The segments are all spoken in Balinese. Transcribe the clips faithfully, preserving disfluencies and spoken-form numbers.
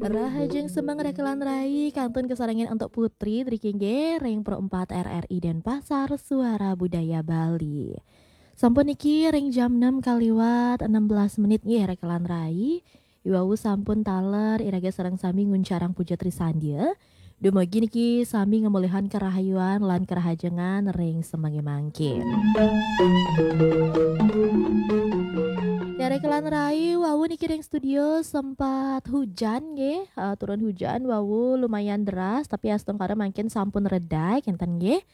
Rahajeng semeng rekelan rai kantun kasarengin antuk Putri driki nggih ring Pro empat R R I Denpasar, Suara Budaya Bali. Sampun niki ring jam enam kaliwat enam belas menit nggih rekelan rai. Iwau sampun taler iraga sareng sami nguncarang puja trisandya. Dumugi niki sami ngamolihang karahayuan lan karahajengan ring semenge mangkin. Ya, rekelan rai, wau niki ring studio sempat hujan nggih, eh, turun hujan wau lumayan deras, tapi astungkara mangkin sampun reda kenten nggih.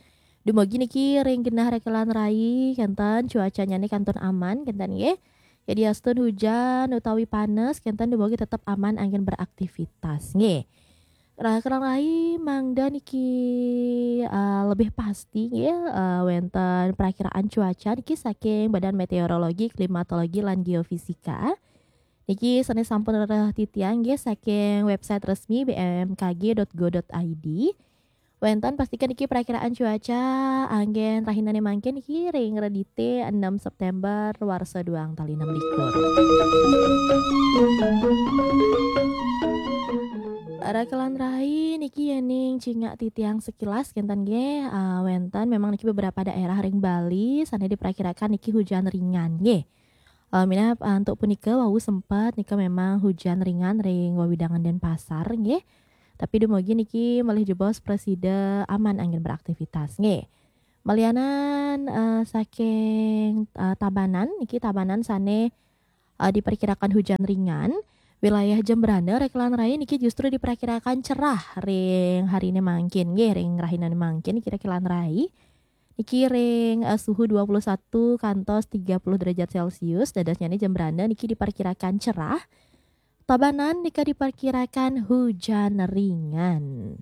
Dumugi niki ring genah rekelan rai kenten cuacanyane kantun aman kenten nggih. Jadi astun hujan utawi panas kenten dumugi tetap aman anggen beraktivitas nggih. Rekelan rai, mangda niki, eh, lebih pasti nggih, eh, wenten perakiraan cuaca niki saking Badan Meteorologi, Klimatologi, lan Geofisika. Niki sane sampun rereh titiang nggih saking website resmi B M K G dot go dot I D. Wenten pastikan niki perakiraan cuaca anggen rahinane mangkin niki ring Redite enam September warsa duang tali enam likur. Rekelan rai, niki yening cingak titiang sekilas kenten nggih, ah, wenten memang niki beberapa daerah ring Bali sane diperkirakan niki hujan ringan nggih. Eh, minab, eh, antuk punika wau sempat nika memang hujan ringan ring wewidangan Denpasar nggih. Tapi dumugi niki malih jebos prasida aman anggen beraktivitas nggih. Malianan, eh, saking, eh, Tabanan niki, Tabanan sane, eh, diperkirakan hujan ringan. Wilayah Jembrana rekelan rai niki justru diperkirakan cerah ring harine mangkin nggih, ring rahinane mangkin niki rekelan rai. Niki ring, eh, suhu dua puluh satu kantos tiga puluh derajat Celcius, dadosnyane Jembrana niki diperkirakan cerah. Tabanan nika diperkirakan hujan ringan.